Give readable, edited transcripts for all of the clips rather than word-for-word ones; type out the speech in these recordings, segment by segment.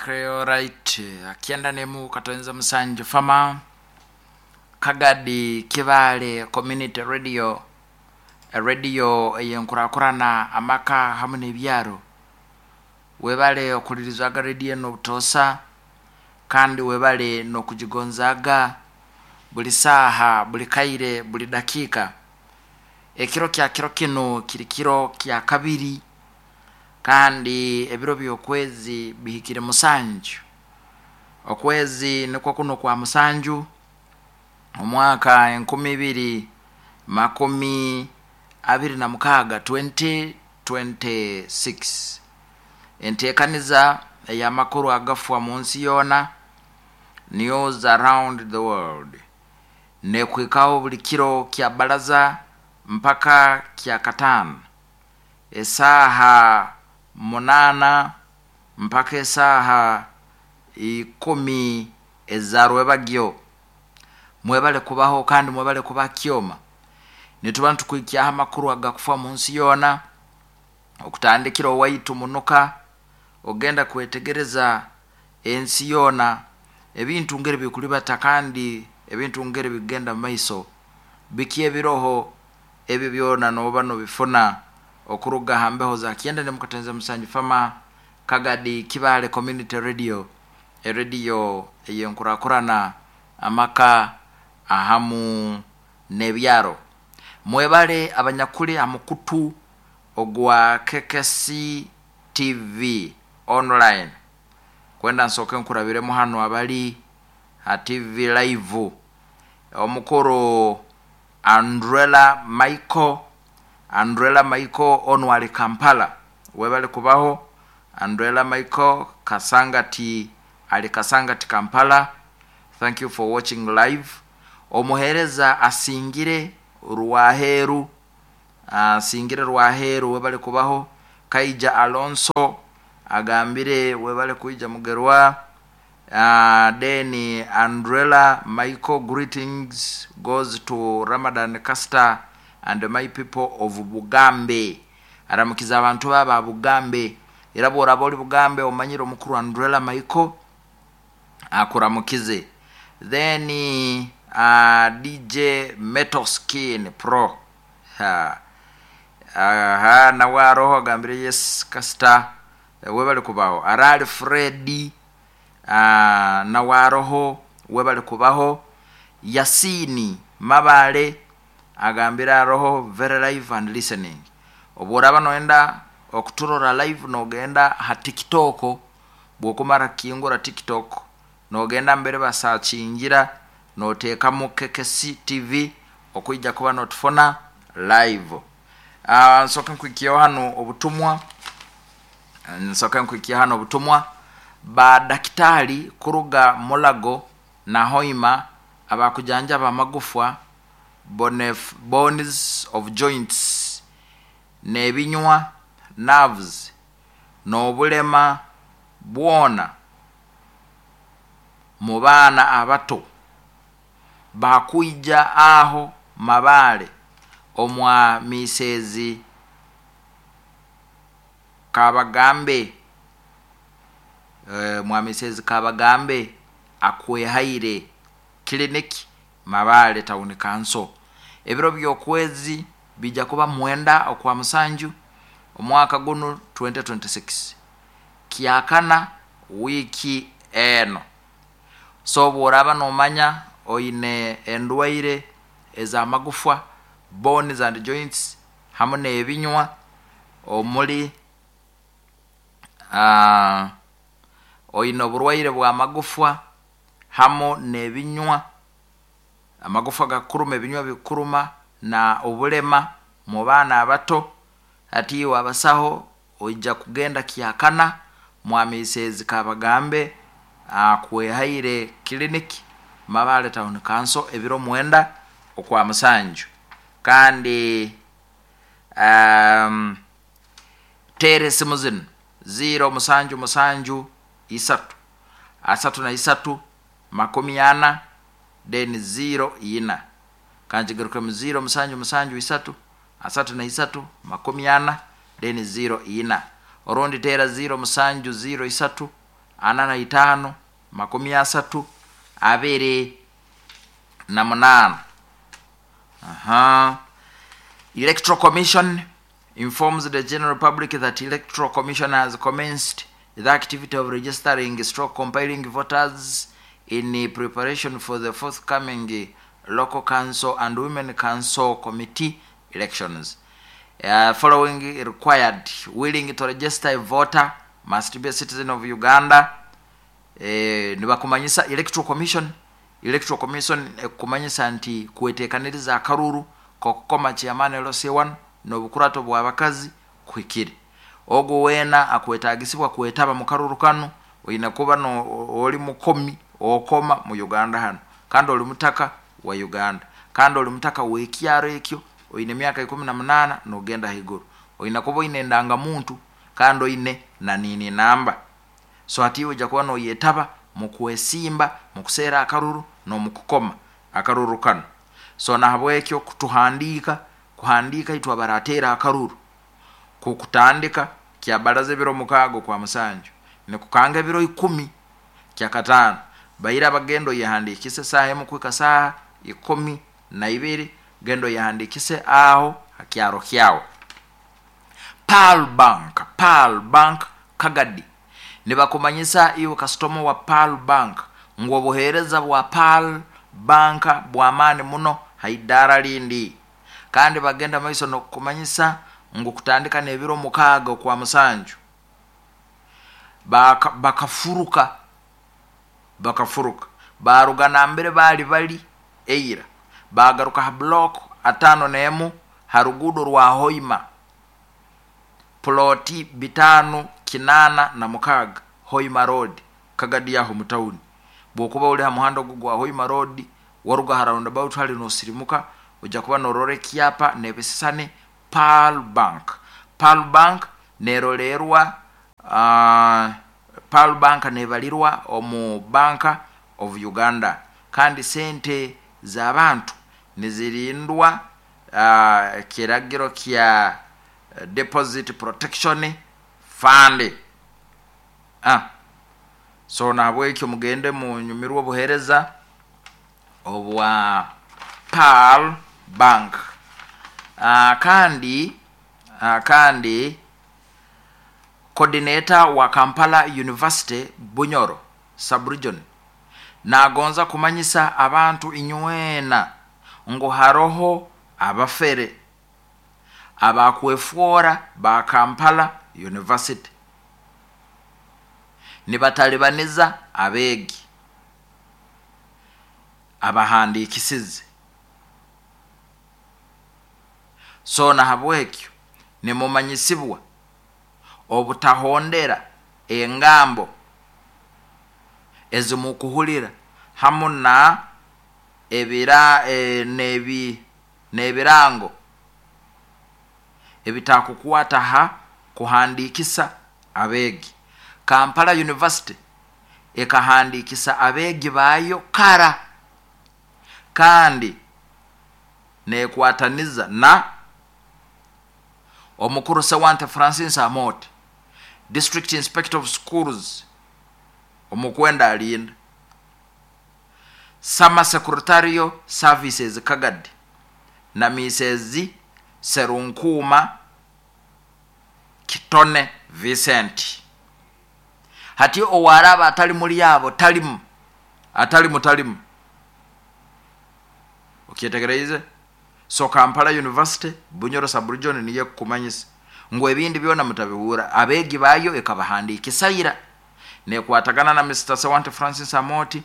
Okay, alright. Akienda nemu Katonza Musanju Fama Kagadi Kibale Community Radio, radio eyenkurakurana amaka hamu n'ebyaro. Webale okulirizwaga radio eno obutosa, kandi webale n'okugigonzaaga buli saaha, buli kaire, buli dakiika. Ekiro kya kiro kinu kiri kiro kya kabiri, kandi ebiro by'okwezi bihikire 7. Okwezi nikwo kuno kwa 7, omwaka 2026, 2026. Enteekaniza ey'amakuru agafwa mu nsi yoona, News Around the World, nekuhikaho buli kiro kya baraza mpaka kya kataano, esaaha 8 mpaka esaaha 10 eza rwebagyo. Mwebale kubaho kandi mwebale kuba kyoma. Nituba nitukwikyaho amakuru agakufa mu nsi yoona, okutandikira owaitu munuka, ogenda kwetegereza ensi yoona, ebintu ngeri bikulibata kandi ebintu ngeri bigenda mu maiso, biki ebiroho, ebyo byona noba nobifuna okuruga ha mbeho za Kyenda nemu Katenza Musanju Fama Kagadi Kibale Community Radio, erediyo eyenkurakurana amaka ahamu n'ebyaro. Mwebale abanyakuli ha mukutu ogwa KKC TV online. Kwenda nsooke nkurabiremu hanu abali ha TV live. Omukuru Andrella Michael, Andrella Michael onu ali Kampala. Webale kubaho Andrella Michael Kasangati, ali Kasangati Kampala. Thank you for watching live. Omuhereza asingire Rwaheru, asingire Rwaheru, webale kubaho. Kaija Alonso agambire webale kuija Mugerwa. Then Andrella Michael, greetings goes to Ramadan Caster and my people of Bugambe. Aramukiza abantu baba Bugambe. Era bworaba oli Bugambe omanyire omukuru Andrella Michael akuramukize. Then DJ Metal Skin Pro. Aha, nawe aroho agambire yes Caster, webale kubaho. Arali Freddy, nawe aroho webale kubaho. Yasini Mabale agambire aroho very live and listening. Obworaba noenda okuturora live nogenda ha TikTok, bwokumara kukingura TikTok nogenda mbere basakingira notekamu KKC TV okuija kuba notufuna live. Nsoke nkwikiyeho hano obutumwa, nsoke nkwikiye hano obutumwa ba dakitari kuruga Mulago na Hoima abakujanjaba amagufwa, bones of joints, n'ebinywa, nerves, n'obulema bwona mu baana abato bakwija aho Mabale omwa Misezi Kabagambe, mwa Misezi Kabagambe akwehaire clinic Mabale Town Council. Ebiro by'okwezi bija kuba 9 okwa 7 omwaka guno 2026, kyakana wiiki eno. So bworaba nomanya oine endwaire ez'amagufwa, bones and joints, hamu n'ebinywa, omuli oine oburwaire bw'amagufwa hamu n'ebinywa, amagufwa gakuruma, ebinywa bikuruma, na obulema mu baana abato, hati iwe abasaho oija kugenda kyakana mwa Misezi Kabagambe akwehaire clinic Mabale Town Council ebiro 9 okwa 7. Kandi tera esimu zinu 0 7 7 3 33 40 then 0 4. Kanjigarukemu 0 7 7 3 33 40 then 0 4. Orundi tera 0 7 0 3 45 30 28. Aha. Electoral Commission informs the general public that Electoral Commission has commenced the activity of registering stroke compiling voters in preparation for the forthcoming local council and women council committee elections. Following required: willing to register a voter must be a citizen of Uganda. Nibakumanyisa Electoral Commission, Electoral Commission ekukumanyisa nti kwetekaniriza akaruru kokukoma chairman LC1 n'obukurato bw'abakazi kuhikire. Ogwo weena akwetagisibwa kwetaba mu karuru kanu oine kuba no oli mukomi okoma mu Uganda hano, kandi oli mutaka wa Uganda, kandi oli mutaka w'ekyaro ekyo, oine emyaka 18 n'ogenda haiguru, oine kuba oine endangamuntu kandi oine na nini namba. So hati iwe ojja kuba noyetaba mu kwesimba, mu kuseera akaruru n'omu kukoma akaruru kanu. So nahabwekyo kutuhandiika, kuhandiika itwe abarateera akaruru kukutandika kyabaraza ebiro 6 kwa 7 nikukanga ebiro 10 kyakataano baira abagendo yehandikise saaha emu kuhika saaha 12, gendo yehandikise aho hakyaro kyawe. Pearl Bank, Pearl Bank Kagadi nibakumanyisa iwe kasitoma wa Pearl Bank ngu obuheereza bwa Pearl Bank bw'amaani muno haidara lindi, kandi bagenda maiso n'okukumanyisa ngu kutandika n'ebiro 6 okwa 7 bakafuruka baruga nambere bali bali eira bagaruka ha block 51 ha rugudo rwa Hoima, ploti 586 Hoima Road, Kagadi yaho mutauni. Bwokuba uli ha muhanda ogu gwa Hoima Road waruga ha roundabout hali nosirimuka, ojja kuba norora ekyapa nebisisane Pearl Bank. Pearl Bank nerolerwa, Pearl Bank nebalirwa omu Bank of Uganda, kandi sente z'abantu nizirindwa kiragiro kya Deposit Protection Fund. So nahabwekyo mugende munyumirwe obuheereza obwa Pearl Bank. Kandi coordinator wa Kampala University Bunyoro subregion nagonza kumanyisa abantu inywena ngu haroho abafere abakwefwora ba Kampala University nibatalibaniza abeegi abahandikisize. So nahabwekyo nimumanyisibwa obutahondera engambo ezimukuhulira hamu na n'ebirango ebitakukwata ha kuhandikisa abeegi. Kampala University ekahandikisa abeegi bayo kara, kandi nekwataniza na omukuru Sewante Francis Amote, District Inspector of Schools omukwenda alinda, Summer Secretarial Services Kagadi na Mrs Serunkuma Kitone Vincent. Hati owaraba atali muri abo talimu atalimu talimu okyetegereze. So Kampala University Bunyoro subregion niye kukumanyisa ngu ebindi byona mutabiwura, abeegi bayo ekabahandikisa nekwatagana na Mr Sewante Francis Amoti,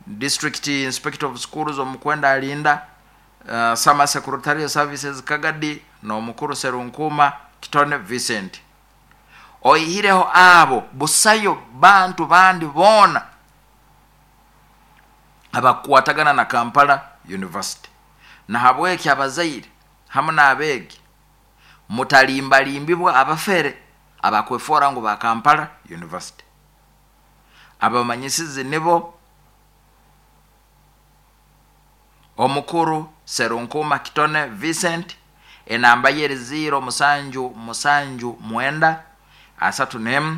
District Inspector of Schools omukwenda alinda, Summer Secretarial Services Kagadi n'omukuru Serunkuma Kitone Vincent. Oihireho abo busayo bantu bandi boona abakwatagana na Kampala University. Nahabweki abazaire hamu n'abeegi mutalimbalimbibwa abafere abakwefora ngu ba Kampala University. Abamanyisizi nibo omukuru Serunkuma Kitone Vincent, enamba ye 0 7 7 9 3 1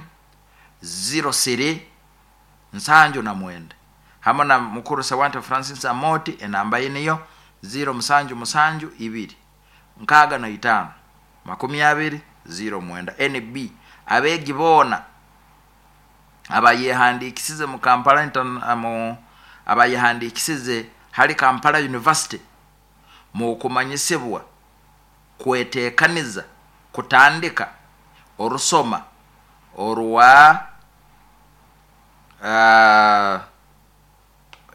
0 3 79. Hamu na mukuru Sewante Francis Amoti, enamba ye niyo 0772 65 20 09. NB, abeegi boona abayehandiikisize mu Kampala, abayehandiikisize hali Kampala University mukumanyisibwa kwetekaniza kutandika orusoma orwa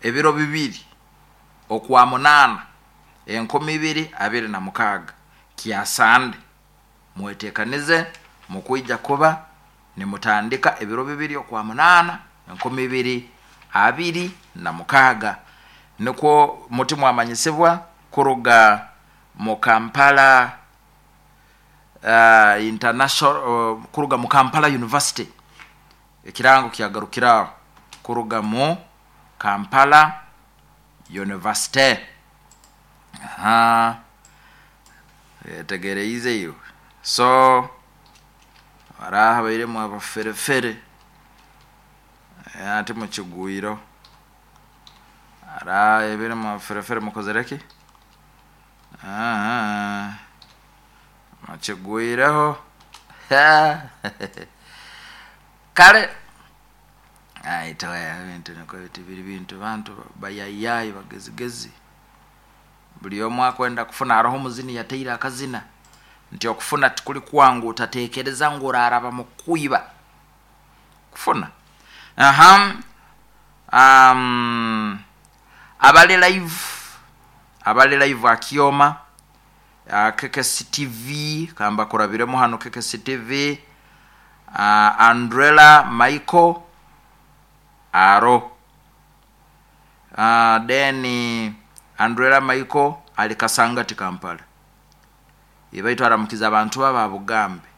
ebiro 2 okwa 8 2026 kyasande. Mwetekanize, mukwija kuba nimutandika ebiro 2 okwa 8 2026. Nikwo muti mwamanyisibwa kuruga mu Kampala International, kuruga mu Kampala University. Ekirango kyagarukiraho kuruga mu Kampala University. Aha, yetegereize iwe. So baraha bairemu abaferefere ati mukigwiro ara ebirimu abaferefere mukozereki mukigwireho. Kale ebintu niko biti biri bintu bantu bayayayi bagezigezi, buli omu akwenda kufuna. Haroho omuzini yateire akazina nti okufuna tikuli kwangu, utatekereza ngu oraraba mukwiba kufuna. Aha, abali live, abali live akioma KKC TV, kamba kurabiremu hano KKC TV, Andrela Michael aro, then Andrela Michael ali Kasangati Kampala, ibaitu aramukiza abantu baba Bugambe.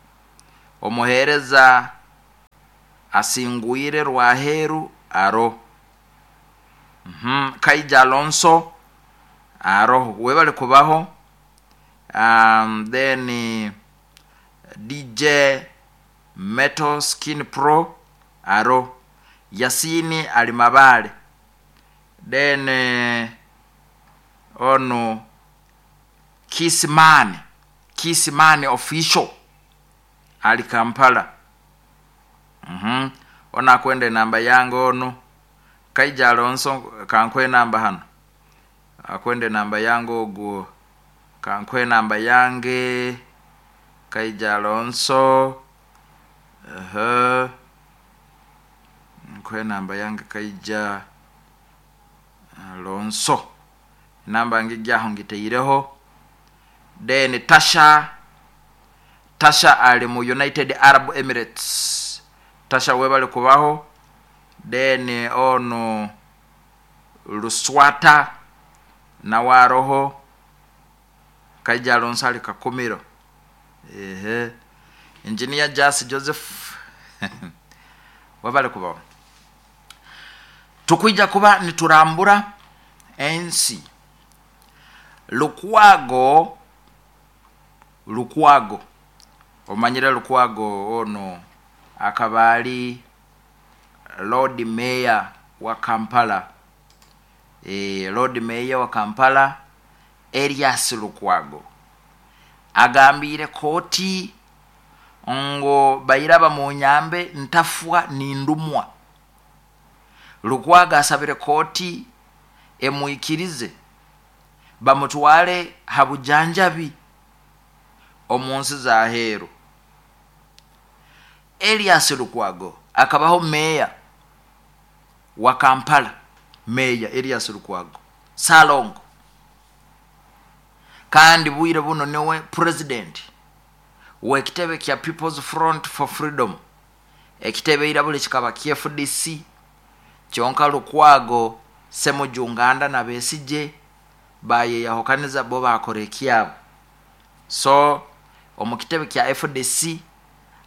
Omuhereza asingwire Rwaheru aro, Kaija Alonso aro, webali kubaho. Then DJ Metal Skin Pro aro, Yasini ali Mabale. Then ono Kisman, Kisman official ali Kampala. Ona akwenda enamba yange ono Kaija Alonso, kankwe enamba hano, akwenda enamba yange ogwo, kankwe enamba yange Kaija Alonso, nkwe enamba yange Kaija Alonso, enamba ngijjaho ngiteireho. Then Tasha, Tasha ali mu United Arab Emirates, Tasha webali kubaho. Then ono Luswata nawe aroho, Kaija Alonso ali Kakumiro. Ehe, Engineer Jas Joseph webali kubaho. Tukwija kuba niturambura ensi. Lukwago, Lukwago omanyire Lukwago ono akaba ali Lord Mayor wa Kampala, Lord Mayor wa Kampala Erias Lukwago agambire kooti ngo bairaba mu nyambe ntafwa nindumwa. Lukwago asabire kooti emwikirize bamutwale habujanjabi omunsi za heru. Elias Lukwago akabaho meya wa Kampala, meya Elias Lukwago Salongo, kandi bwire buno niwe president w'ekitebe kya People's Front for Freedom, ekitebe irabule kikaba kya FDC. Kyonka Lukwago Semujunganda na Besigye bayeyahukaniza bo bakora ekyabo. So omu kitebe kya FDC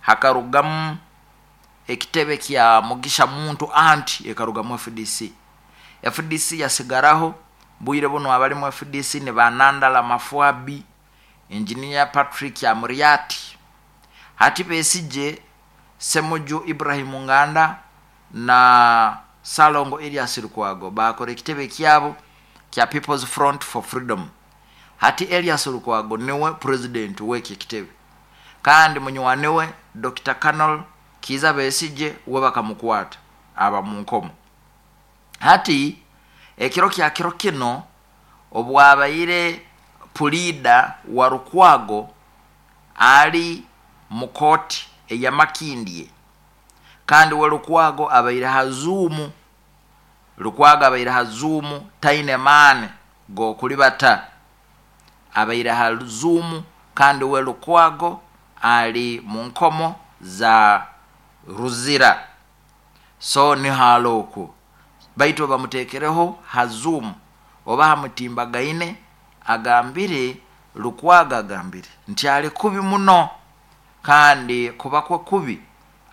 hakarugamu ekitebe kya Mugisha Muntu anti ekarugamu FDC. FDC yasigaraho bwire buno abali mu FDC ni Banandala Mafwabi, Engineer Patrick Amuriati, hati Besigye, Semuju Ibrahim Nganda na Salongo Erias Lukwago bakora ekitebe kyabo kya People's Front for Freedom. Hati Erias Lukwago niwe president w'eki ekitebe, kandi munywani we Dr. Colonel Kiiza Besigye we bakamukwata aba mu nkomo. Hati ekiro kya kiro kino obwabaire puliida wa Lukwago ali mu kooti eya Makindye, kandi we Lukwago abaire ha Zoom. Lukwago abaire ha Zoom, taine maani g'okulibata, abaire ha Zoom, kandi we Lukwago ali mu nkomo za Ruzira, so niho ali okwo, baitu bamuteekereho ha Zoom oba ha mutimbagaine. Agambire, Lukwago agambire nti ali kubi muno, kandi kuba kwe kubi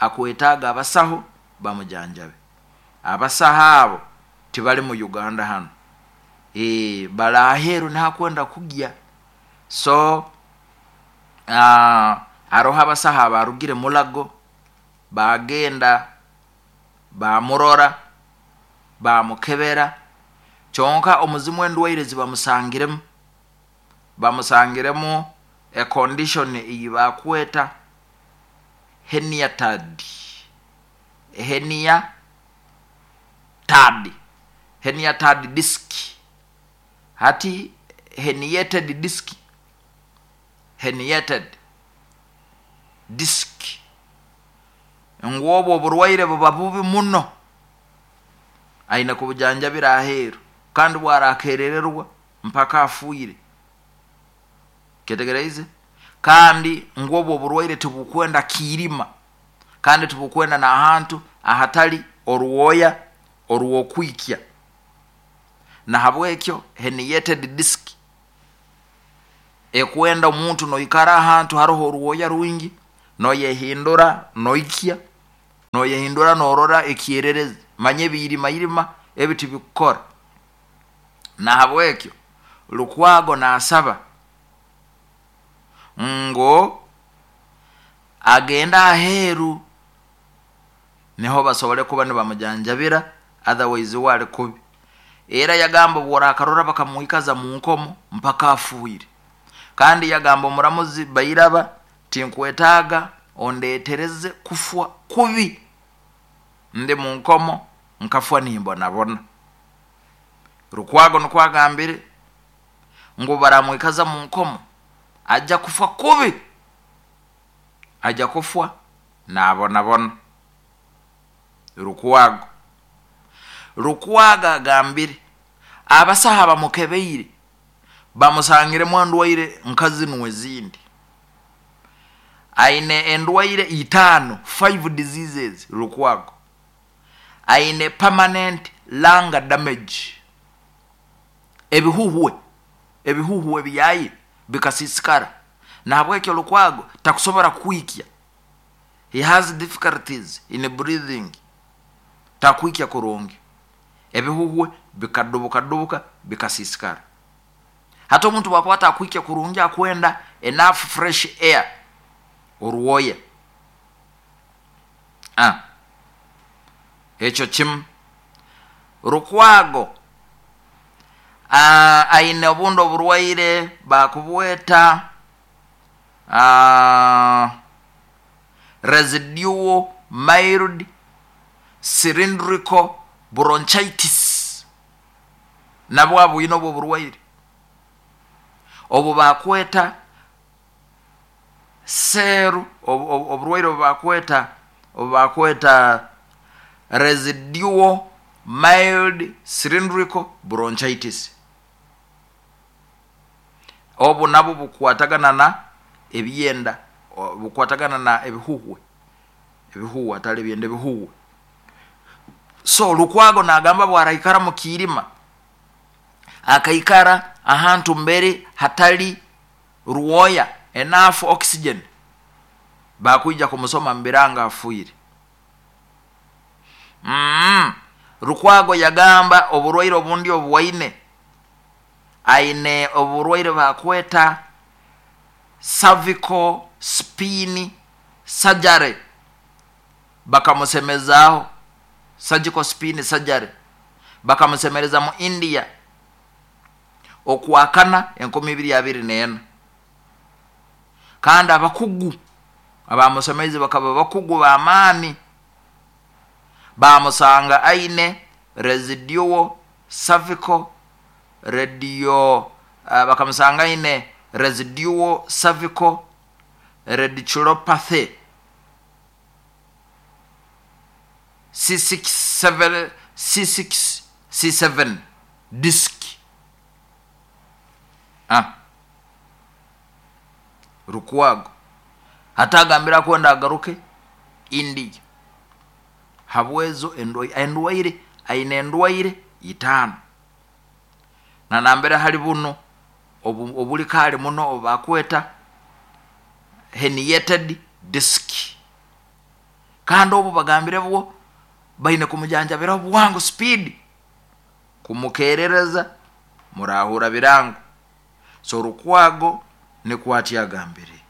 akwetaaga abasaho bamujanjabe. Abasaho abo tibali mu Uganda hano, bali aheeru niho akwenda kugya. So haroho abasaho abarugire Mulago bagenda bamurora bamukebera, kyonka omuzimu endwaire zibamusangiremu, bamusangiremu a condition ei bakweta herniated, herniated, herniated disc. Hati herniated disc, herniated disc, ngu obwo oburwaire buba bubi muno, aine kubujanjabira aheeru, kandi bwarakerererwa mpaka afuire. Ketegereize? Kandi ngu obwo oburwaire tibukwenda kiirima, kandi tibukwenda n'ahantu ahatali orwoya orw'okwikya. Nahabwekyo herniated disc ekwenda omuntu noikara ahantu haroho orwoya rwingi, noyehindura noikya, noyehindura norora ekyererezi, manya ebiirimairima ebi tibikukora. Nahabwekyo Lukwago nasaba ngu agende aheeru niho basobole kuba nibamujanjabira, otherwise we ali kubi. Era yagamba obworakarora bakamwikaza mu nkomo mpaka afuire. Kandi yagamba omuramuzi Bairaba, tinkwetaaga ondetereze kufwa kubi, ndi mu nkomo nkafwa nimbonabona. Lukwago nukwo agambire ngu baramwikaza mu nkomo ajja kufa kubi, ajja kufwa nabonabona. Lukwago, Lukwago agambire abasaho abamukebeire bamusangiremu endwaire nka zinu ezindi. Aine endwaire 5, 5 diseases. Lukwago aine permanent lung damage, ebihuhwe, ebihuhwe byaye bikasisikara, nahabwekyo Lukwago takusobora kwikya. He has difficulties in breathing, takwikya kurungi, ebihuhwe bikadubukadubuka bikasisikara. Hati omuntu bwakuba atakwikya kurungi akwenda enough fresh air, orwoya. Ekyo kimu. Lukwago aine obundi oburwaire bakubweta residual mild cylindrical bronchitis, nabwo abwine obwo oburwaire obu bakweta seru, oburwaire obu bakweta residual mild cylindrical bronchitis. Obu nabwo bukwatagana na ebyenda, bukwatagana na ebihuhwe, ebihuhwe atali ebyenda, ebihuhwe. So Lukwago nagamba bwaraikara mu kiirima, akaikara ahantu mbere hatali rwoya, enough oxygen, bakwija kumusoma mbiranga afuire. Lukwago yagamba oburwaire obundi obuwaine, aine oburwaire bakweta cervical spine surgery, bakamusemezaaho. Surgical spine surgery, bakamusemereza mu India okwakana 2024. Kandi abakugu abamusemeize bakaba bakugu b'amaani, bamusanga aine residual cervical radio, bakamusanga aine residual cervical radiculopathy C6 C6 C7 disc. Lukwago hatagambira kwenda agaruke India habwezo endwaire, aine endwaire 5 na nambere hali buno obuli kali muno obakweta herniated disc, kandi obu bagambire bwo baine kumujanjabira bwangu speed, kumukerereza murahura birango. So Lukwago nikwati agambire.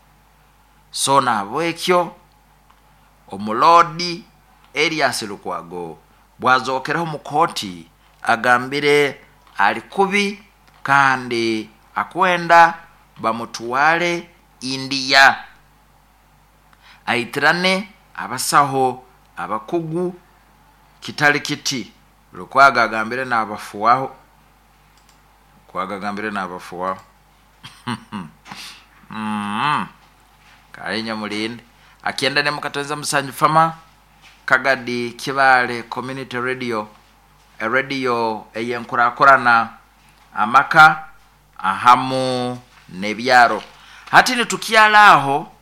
So nabwekyo omulodi Erias Lukwago bwazokereho mu kooti agambire ali kubi kandi akwenda bamutwale India aitirane abasaho abakugu. Kitali kiti Lukwago agambire n'abafuwaho, Lukwago agambire n'abafuwaho. Kale mulinde akienda ne mukatonza musanju fama Kagadi Kibale Community Radio, radio eyenkurakurana amaka ahamu nebyaro. Hati nitukyala aho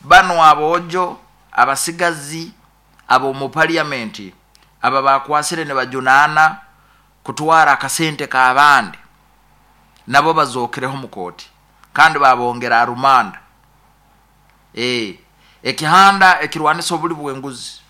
bano abojo abasigazi abo mu parliament aba bakwasire ne bajunana kutwara akasente k'abandi, nabo bazokereho mu kooti kandi babongera arumanda. Ekihanda ekirwanisa obuli bw'enguzi